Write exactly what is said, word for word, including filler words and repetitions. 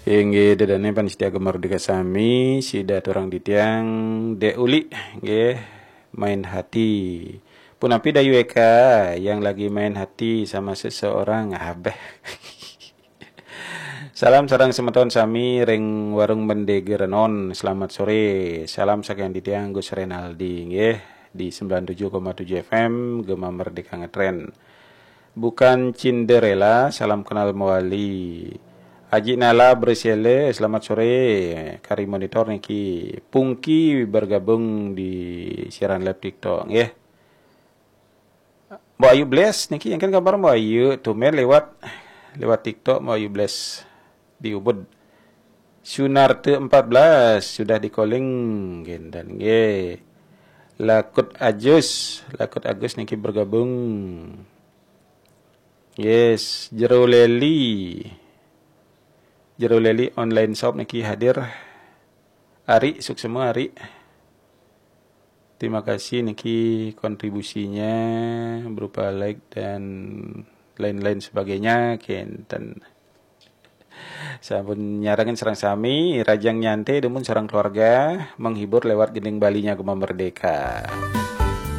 Inggih, ida dané pamiarsa Gema Merdeka sami, sida aturang titiang Dék Uli, nggih, main hati. Punapi dayu éka yang lagi main hati sama seseorang? Abéh. Salam sareng semeton sami ring Warung Mendege Renon. Selamat sore. Salam saking titiang Gus Renaldi, nggih, di sembilan tujuh koma tujuh F M, Gema Merdeka Ngetren. Bukan Cinderella, salam kenal mawali. Aji Nala Bresele, selamat sore. Kari monitor niki, Pungki bergabung di siaran live TikTok, nggih. Mbok Ayu Bless niki, éngkén kabar Mbok Ayu? Tumben lewat, lewat TikTok Mbok Ayu Bless di Ubud. Sunarte empat belas sudah di-calling, kénten nggih. Lakut Ajus, Lakut Agus niki bergabung. Yes, Jero Leli. Jero Leli online shop niki hadir. Ari, suksma Ari. Terima kasih niki kontribusinya berupa like dan lain-lain sebagainya, kénten. Sampun nyarengin sareng sami, rahajeng nyantai dumun sareng keluarga, menghibur lewat gending Balinya Gema Merdeka.